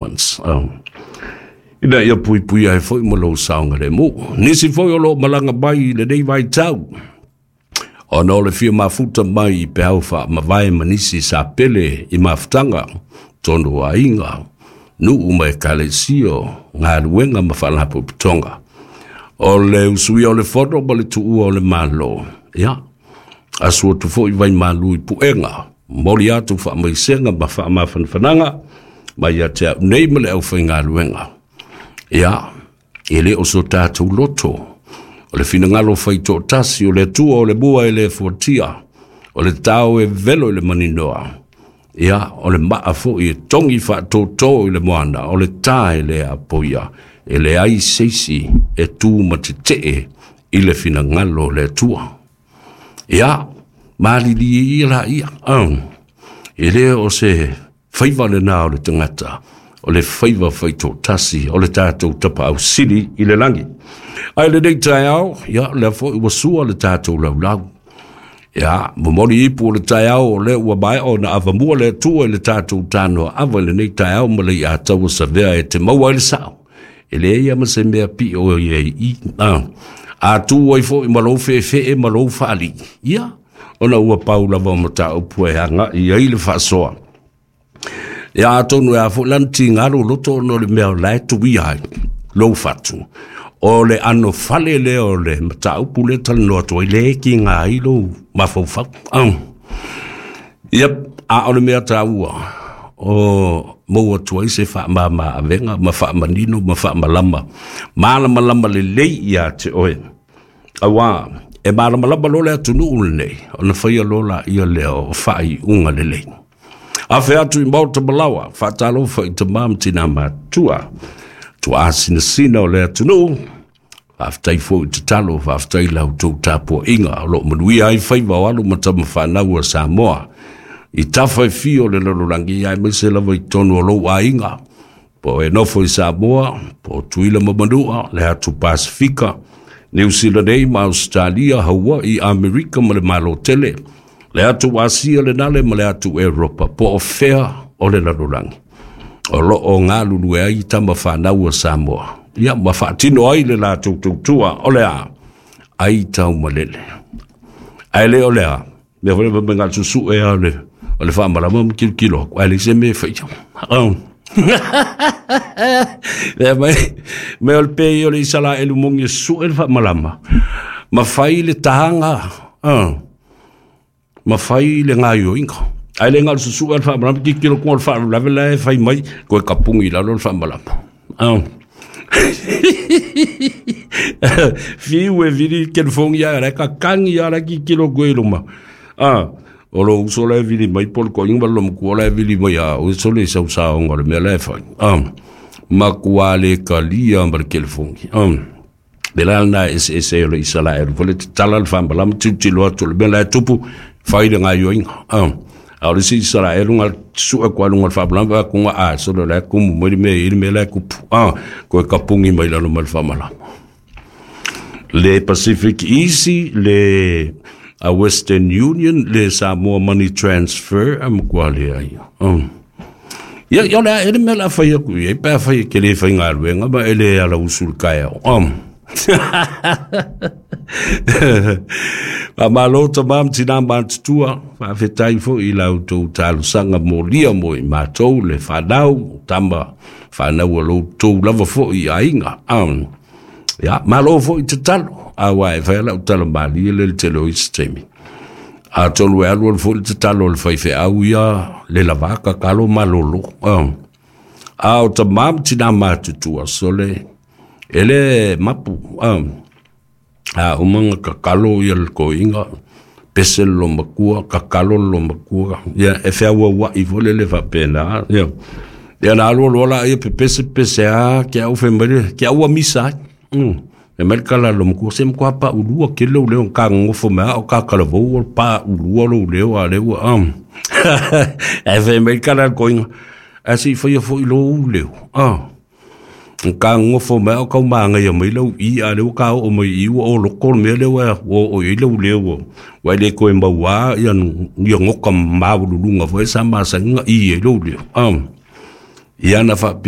Ones. Ina ia puipuia ai foi ma lou saogalemu. Nisi foi o loo malaga mai i lenei vaitau ona o le fia mafuta mai i peau faamavae ma nisi sa pele i mafutaga, tonu o aiga, nuu ma ekalesia, galuega ma faalapotopotoga. O le usuia o le fono ma le tuua o le Malo, ia, asu atu foi vaimalu i puega, momoli atu faamaisega ma faamafanafanaga mai ia te au nei ma le aufaigaluega. Ia, e le o so tatou loto, o le finagalo faitoatasi o le Atua o le mua e le fuatia, o le tao e velo i le maninoa, ia, o le maa foi e togi faatōtō i le moana, o le tā e le apoia, e leai se isi e tu ma tetee i le finagalo o le Atua. Ia, malilie ia laia, e le o se faiva lena o le tagata, o le faiva faitoatasi o le tatou Tapaau Sili i le lagi. Ae lenei taeao, ia, lea foi ua sua le tatou laulau. Ia, momoli ipu o le taeao o lea ua maea ona avamua le Atua i le tatou tanoa ava i lenei taeao ma le iataua savea e te maua ai le sao. E leai lava ma se mea pio i ai i. A tu ai foi ma lou feefee ma lou faalii, ia, ona ua pau lava o mataupu e agai ai le faasoa. Ia, atonu e a foi lana tiga loloto ona o le mea o la e tuia ai lou fatu. O le ano fale lea o le mataupu lea talanoa atu ai, le tiga ai lou mafaufau. Yep, a o le mea taua, o maua atu ai se faamama avega ma faamanino ma faamalama, malamalama lelei ia te oe. Auā, e malamalama loa le atunuu lenei, ona faia loa laia lea o faaiuga lelei. Afe atu i maota malawa, faatalofa i tamā ma tinā matutua, tuaa sinasina o le atunuu, faafetai foi i tatalo, faafetai i la outou tapuaiga o loo manuia ai faiva o alo ma tama fanau a Samoa i tafa e fia o le lalolagi, aemaise lava i totonu o lou aiga, po o e nofo i Samoa, po o Tutuila ma Manua, le atu Pasifika, Niu Sila nei ma Ausetalia, Hawaii, Amerika ma le Malo tele, le atu Asia le nale ma le atu Europa, po o fea o le lalolagi o loo galulue ai tama fanau a Samoa, ia ma faatino ai le latou tautua o le a ai taumalele. Ae le o le a mea foi le mea susue a o le faamalama ma kilokilo aku, ae leai se mea e faia. Lea mai, me o le pei o le Isalaelu moni e susue le faamalama, ma fai le taga, ma fai le gaioiga. Ae le galo susue le faamalama, tilotilo kuga o le faalavelave la e fai mai, koe kapugi i lalo le faamalama. Fiu e vili telefogi ae la e kakagi a la e tilotilo koe i luma. O lou uso la e vili mai po o le toeaina ma le loma la e vili mai a oe sole i sausaoga o le mea la e fai. Matua le talia ma le telefogi. Le la lena e eseese ai o le Isalaelu foi le tatala le faamalama tilotilo atu o le mea la e tupu fai le gaioiga. A o le isi Isalaelu na sue atu lava i luga o le faamalama vaai atu na a sole o la e tumu mai le mea e i ai le mea la e tupu. Toe kapugi mai lalo ma le faamalama. Le Pacific Easy, le a Western Union, le Samoa Money Transfer, a matua leai. Ia, ia o le a ea le mea o le a fai atu i ai, pe afai e te le faigaluega ma e le ala usu i le taeao. Faamalo tamā ma tinā matutua, faafetai foi i la outou talosaga molia mo i matou le fanau, tama fanau a lo outou lava foi i aiga. Ia, malo foi tatalo, aua e fai a lau tala malie le tele o isi taimi. Atonu e alu alu foi le tatalo a le faifeau ia le lava tatalo malolo. A o tamā ma tinā matutua, sole, e le mapu. A uma ona tatalo ia le toeaina, pese le loomatua, tatalo le loomatua, ia e feauauai foi lele faapena. Ia, ia na alu alu la ia pepese pepese a ke au fai mai le ke au ua misa ai. Fai mai le tala a le loomatua, se matua paulua tele lou leo ka nonofo mai a o ka talavou o le paulua lou leo a lea ua. Ae fai mai le tala a le toeaina, ae se i faia foi lou leo. Ka nonofo mai a o tau manaia mai lau i, a o lea ua ka oo mai i i ua oloto le mea lea ua oo i ai lou leo, ua e le toe maua ia nota maualuluga foi sa masani ona i ai lou leo. Ia na faapea.